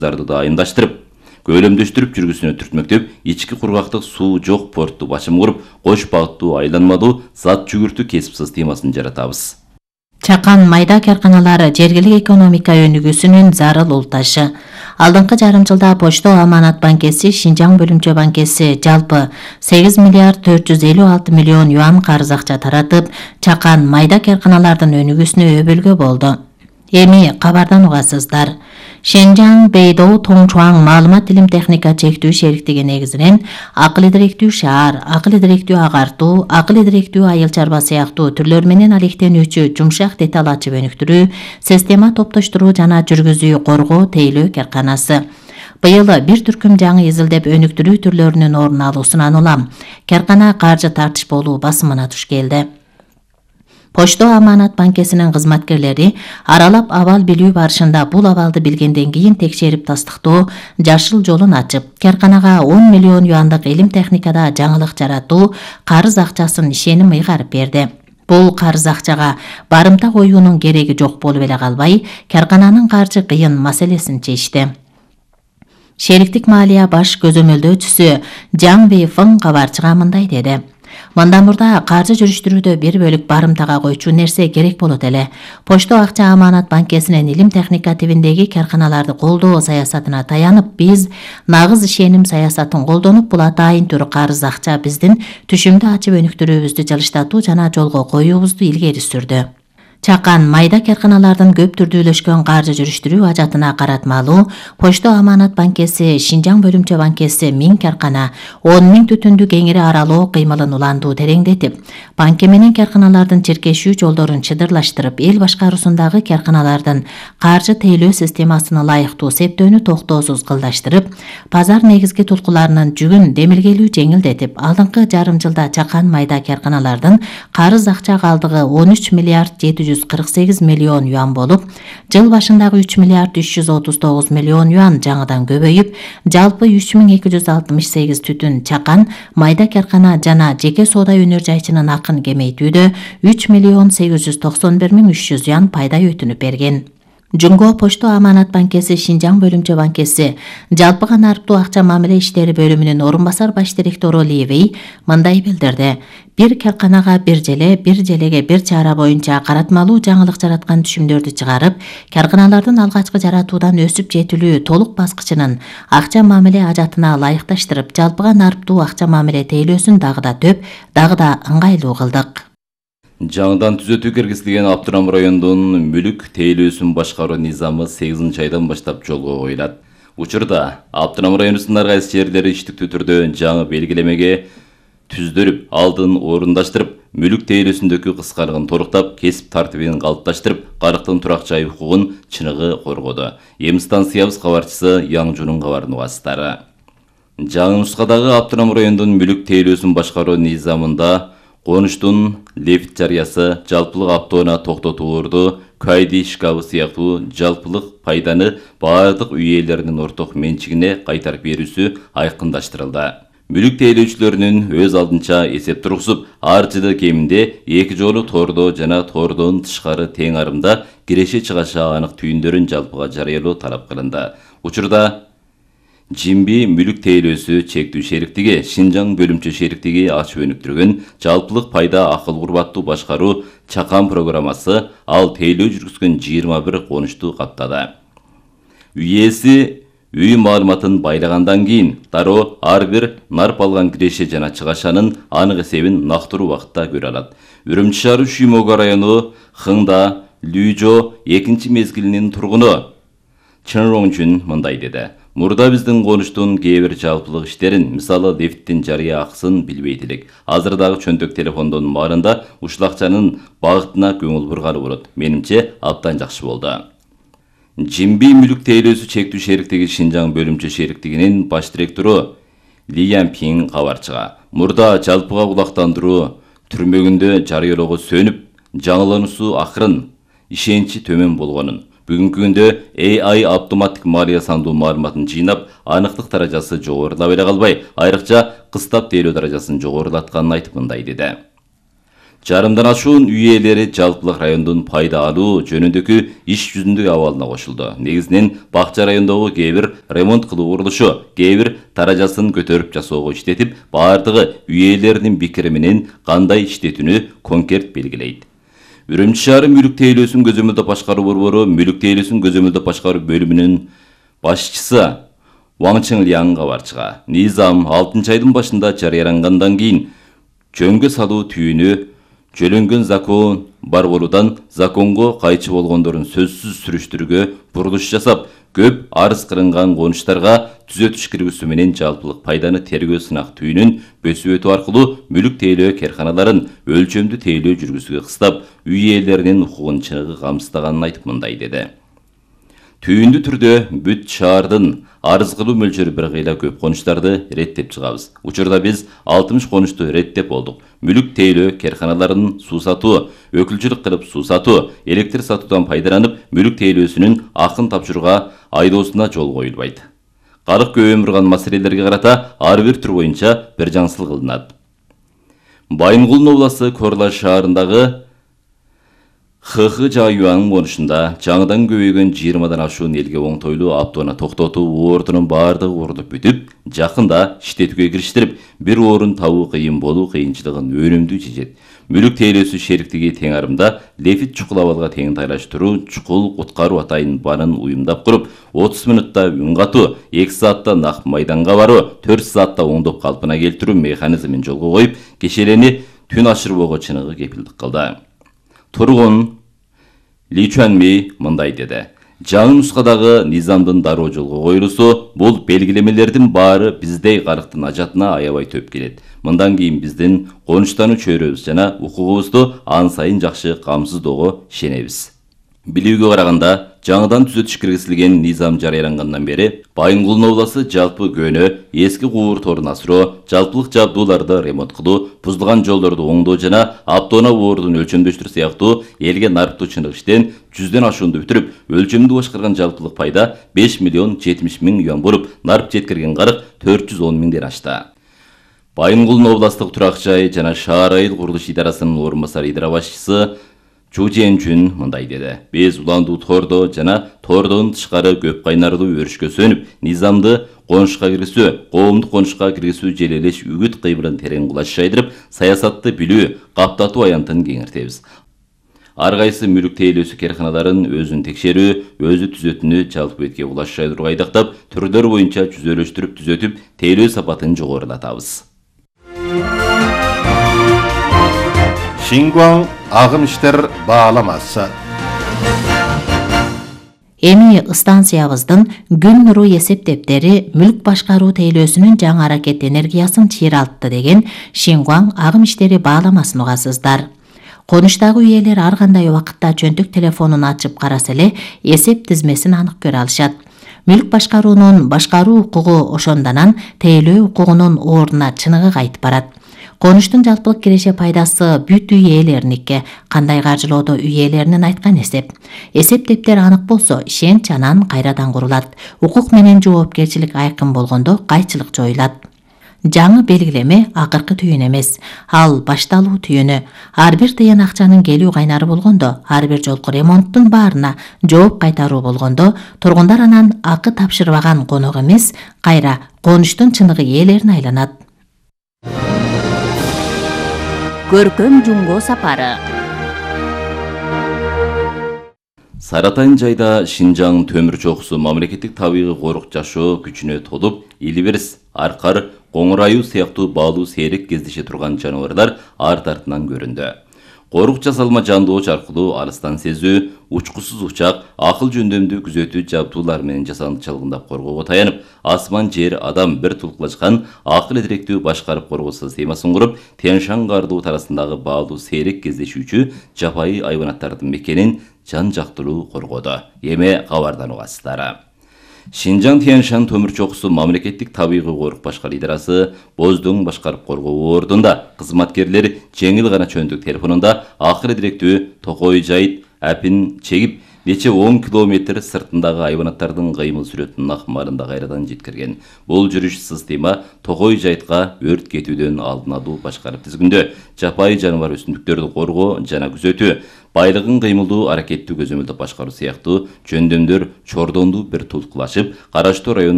да айымдаштырып, көөлөмдөштүрүп жүргүсүнө түртмөктөп, ички кургактык суу жок портту башым куруп, кош багыттуу айланмалуу зат жүгүртүү кесипсиз темасын жаратабыз. Чакан майда карканалары жергилик экономика өнүгүүсүнүн зарыл улташы. Алдыңкы жарым жылда Почто Аманат банкеси, Шинжаң бөлүмчө банкеси жалпы 8 миллиард 456 миллион юан карыз акча таратып, чакан майда карканалардын өнүгүүсүнө өбөлгө болду. Эми кабардан угасыздар. Шэнжаң Бэйдоу Тоңчуаң маалымат илим техника чектүү шериктиги негизинен акыл идиректүү шаар, акыл идиректүү агартуу, акыл идиректүү айыл чарба сыяктуу түрлөр менен алектенүүчү жумшак деталь ачып өнүктүрүү, система топтоштуруу жана жүргүзүү коргоо тейлөө карканасы. Быйыл бир түркүм жаңы изилдеп өнүктүрүү түрлөрүнүн орун алуусунан улам каркана каржы тартыш болуу басымына туш келди. Почто Аманат банкесинин кызматкерлери аралап абал билүү барышында бул абалды билгенден кийин текшерип тастыктоо жашыл жолун ачып, карканага 10 миллион юандык илим техникада жаңылык жаратуу карыз акчасын ишеним ыйгарып берди. Бул карыз акчага барымта коюунун кереги жок болуп эле калбай, каркананын каржы кыйын маселесин чечти. Шериктик маалия баш көзөмөлдөөчүсү Жаң Бэйфың кабарчыга мындай деди. Мындан мурда каржы жүрүштүрүүдө бир бөлүк барымтага койчу нерсе керек болот эле. Почто Акча Аманат банкесинин илим техника тибиндеги карканаларды колдоо саясатына таянып, биз нагыз ишеним саясатын колдонуп, бул атайын түрү карыз акча биздин түшүмдү ачып өнүктүрүүбүздү жылыштатуу жана жолго коюубузду илгери сүрдү. Чакан майда карканалардын көп түрдүүлөшкөн каржы жүрүштүрүү ажатына каратмалуу Почто Аманат банкеси, Шинжаң бөлүмчө банкеси 1000 каркана, 10 000 түтүндү кеңири аралоо кыймылын уландуу тереңдетип, банке менен карканалардын чиркешүү жолдорун чыдырлаштырып, эл башкаруусундагы карканалардын каржы тейлөө системасыны ылайыктуу септөөнү токтоосуз кылдаштырып, пазар негизги туткуларынын жүгүн демилгелүү жеңилдетип, алдыңкы жарым жылда чакан майда карканалардын карыз акча калдыгы 13 миллиард 748 миллион юан болуп, жыл башындагы 3 миллиард 339 миллион юан жаңыдан көбөйүп, жалпы 3268 түтүн чакан, майда каркана жана жеке соода өнөр жайчынын акын кемейтүүдө 3 миллион 891 300 юан пайда өтүнүп берген. Жунго Почто Аманат банкеси, Шинжаң бөлүмчө банкеси жалпыга нарыктуу акча мамиле иштери бөлүмүнүн орун басар баш директору Ли Вэй мындай билдирди. Бир карканага бир желеге бир чара боюнча каратмалуу жаңылык жараткан түшүмдөрдү чыгарып, карканалардын алгачкы жаратуудан өсүп жетилүү толук баскычынын акча мамиле ажатына ылайыкташтырып, жалпыга нарыктуу акча мамиле тейлөөсүн дагы да төп, дагы да ыңгайлуу кылдык. Жаңыдан түзөтүү киргизилген Аптырам районунун мүлүк тейлөөсүн башкаруу низамы 8-айдан баштап жолго коюлат. Учурда Аптырам районунун ар кайсы жерлери иштиктүү түрдө жаңы белгилемеге түздүрүп, алдын орундаштырып, мүлүк тейлөөсүндөгү кыскалыгын торуктап, кесип тартибин калыпташтырып, карыктын турак жай укугун чыныгы коргоду. Эми станциябыз кабарчысы Яңжунун кабарын угасыздары. Жаңы нускадагы Аптырам районунун мүлүк тейлөөсүн башкаруу низамында конуштун лефт жарыясы, жалпылык автоунаа токтотуулорду, кайди шкабы сыяктуу жалпылык пайданы баардык үй ээлеринин орток менчигине кайтарып берүүсү айкындаштырылды. Мүлүк тейлөөчүлөрүнүн өз алдынча эсеп тургузуп, ар жылы кеминде 2 жолу тоордо жана тоордон тышкары тең арымда киреше чыгаша анык түйүндөрүн жалпыга жарыялоо талап кылынды. Учурда Жимби мүлүк тейлөөсү чектүү шериктиги, Шинжаң бөлүмчө шериктиги ачып өнүктүргөн жалпылык пайда акыл курбаттуу башкаруу чакан программасы ал тейлөө жүргүзгөн 21 конушту каптады. Үй ээси үй маалыматын байлагандан кийин дароо ар бир нарп алган киреше жана чыгашанын анык эсебин нактыруу убакытта көрө алат. Үрүмчү шаары Шүймөгө району Хыңда Лүйжо 2 мезгилинин тургуну Чынроңчун мындай деди. Мурда биздин конуштун кээ бир жалпылык иштерин, мисалы лифттин жарыя акысын билбейт элек. Азыр дагы чөнтөк телефондон баарында ушул акчанын багытына көңүл бурганы болот. Менимче абдан жакшы болду. Жимби мүлүк тейлөөсү чектүү шериктиги Шинжаң бөлүмчө шериктигинин баш директору Ли Янпин кабарчыга мурда жалпыга кулактандыруу түрмөгүндө жарыялоого сөнүп, жаңылануусу акырын, ишеничи төмөн болгонун, бүгүнкү күндө AI автоматтык маалия сандуу маалыматын жыйнап, аныктык даражасы жогорулап эле калбай, айрыкча кыстап тейлөө даражасын жогорулатканын айтып мындай деди. Жарымдан ашуун үй ээлери жалпылык райондун пайда алуу жөнүндөгү иш жүзүндөгү абалына кошулду. Негизинен Бакча райондогу кээ бир ремонт кылуу курулушу, кээ бир таражасын көтөрүп жасоого иштетип, баардыгы үй ээлеринин пикири менен кандай иштетүүнү конкрет белгилейт. Үрүмчү шаары мүлүк тейлөөсүн көзөмөлдөп башкаруу борбору мүлүк тейлөөсүн көзөмөлдөп башкаруу бөлүмүнүн башчысы Ваң Чыңлияң кабарчыга низам 6-айдын башында жарыялангандан кийин жөнгө салуу түйүнү жөлөнгөн закон бар болуудан законго кайчы болгондорун сөзсүз сүрүштүрүүгө бурулуш жасап, көп арыз кырынган конуштарга түзөтүш киргизүү менен жалпылык пайданы тергөө сынак түйүнүн бөсүп өтүү аркылуу мүлүк тейлөө карканаларын өлчөмдүү тейлөө жүргүзүүгө кыстап, үй ээлеринин укугун чыныгы камсыздаганын айтып мындай деди. Түйүндүү түрдө бүт шаардын арыз кылуу мөлчөрү бир кыйла көп конуштарды реттеп чыгабыз. Учурда биз 60 конушту реттеп болдук. Мүлүк тейлөө карканаларын суу сатуу, өкүлчүлүк кылып суу сатуу, электр сатуудан пайдаланып, мүлүк тейлөөсүнүн акын тапшырууга айдоосуна жол коюлбайт. Калык көп өмүрган маселелерге карата ар бир түр боюнча бир жаңсыл кылынат. Байынгулдун областы Корлаш шаарындагы ХХ Жаюан конушунда жаңыдан көбөйгөн 20-дан ашуун элге оңтойлуу автоунаа токтотуу ордунун баардыгы курулуп бүтүп, жакында иштетүүгө кириштирип, бир орун табуу кыйын болуу кыйынчылыгын өнүмдүү чечет. Мүлүк тейлөөсү шериктиги тең арымда Лефит чукул абалга тең тайлаштыруу чукул куткаруу атайын банын уюмдап куруп, 30 мүнөттө үн катуу, 2 саатта нак майданга баруу, 4 саатта оңдоп калпына келтирүү механизмин жолго коюп, кешелени түн ашырбоого чыныгы кепилдик кылды. Тургун Ли Чуанми мындай деди. Жаңы нускадагы низамдын дароо жолго коюлуусу бул белгилемелердин баары биздей карыктын ажатына аябай төп келет. Мындан кийин биздин конуштануу чөйрөбүз жана укугубузду ан сайын жакшы камсыздоого ишенебиз. Билүүгө караганда, жаңыдан түзөтүш киргизилген низам жарыялангандан бери Байынгулдун обласы жалпы көөнө, эски куур торун асыроо, жалпылык жабдууларды ремонт кылуу, бузулган жолдорду оңдоо жана автоунаа ордун өлчөмдөштүрүү сыяктуу элге нарыктуу чындык иштен 100ден ашуунду бүтүрүп, өлчөмдүү башкарган жалпылык пайда 5 миллион 70 миң юан болуп, нарып жеткирген карык 410 миңден ашты. Байынгулдун областык турак жай жана шаар айыл курулуш идарасынын орун басары идара башчысы Чу Жен-чүн мындай деди. Биз уландуу тордо жана тордон тышкары көп кайнарлуу өрүшкө сөнүп, низамды конушка киргизүү, коомдук конушка киргизүү желелеш үгүт кыймылын терең кулаш жайдырып, саясатты билүү, каптатуу аянтын кеңиртебиз. Ар кайсы мүлүк тейлөөсү карканаларын өзүн текшерүү, өзү түзөтүүнү жалпы бетке кулаш жайдырууга айдактап, түрлөр боюнча жүзөлөштүрүп түзөтүп, тейлөө сапатын жогорулатабыз. Шингуан агым иштер бааламасы. Эми станциябыздын күн нуру эсептептери мүлк башкаруу тейлөөсүнүн жаңы аракет энергиясын чыйралтты деген Шингуан агым иштери бааламасын угасыздар. Конуштагы үйелер ар кандай убакытта чөнтүк телефонун ачып караса эле эсеп тизмесин анык көрө алышат. Мүлк башкаруунун башкаруу укугу ошондонан тейлөө укугунун ордуна чыныгы кайтып барат. Конуштун жалпылык киреше пайдасы бүт үй ээлериники, кандай каржылоодо үй ээлеринин айткан эсеп. Эсептептер анык болсо, ишенч анан кайрадан курулат. Укук менен жоопкерчилик айкын болгондо кайчылык жоюлат. Жаңы белгилеме акыркы түйүн эмес, ал башталуу түйүнү. Ар бир тыйын акчанын келүү кайнары болгондо, ар бир жолку ремонттун баарына жооп кайтаруу болгондо, тургундар анан акы тапшырбаган конок эмес, кайра конуштун чыныгы ээлерине айланат. Көркөм жумго сапары. Саратайын жайда Шинжаң төмүр чокусу мамлекеттик табигый корук жашоо күчүнө толуп, илбирс, аркар, коңур аюу сыяктуу баалуу сейрек кездеше турган жаныбарлар арт артынан көрүндү. Корук жасалма жандооч аркылуу алыстан сезүү, учкусуз учак, акыл жөндөмдүү күзөтүү жабдуулар менен жасандычылыгында коргоого таянып, асман жер адам бир тулкулашкан акыл эдиректүү башкарып коргоо системасын куруп, Тянь-Шань кардуу тарасындагы баалуу сейрек кездешүүчү жапайы айванаттардын мекенин жан жактылуу коргоду. Эми кабардан угасыздар. Шинжаң Тянь-Шань төмүр чокусу мамлекеттик табигый корук башкаруу идарасы Боздуң башкарып коргоо ордунда кызматкерлер жеңил гана чөнтүк телефонунда акыл эдиректүү токой жайыт апин чегип, нече 10 километр сыртындагы айванаттардын кыймыл сүрөтүнүн акмарында кайрадан жеткирген. Бул жүрүш система Тогой жайтка өрт кетүүдөн алдын алуу башкарып тизгиндөө, жапайы жаныбар өсүмдүктөрдү коргоо жана күзөтүү, байлыгын кыймылдуу аракеттүү көзөмөлдөп башкаруу сыяктуу жөндөмдөр чордонду бир тулкулашып, караштуу район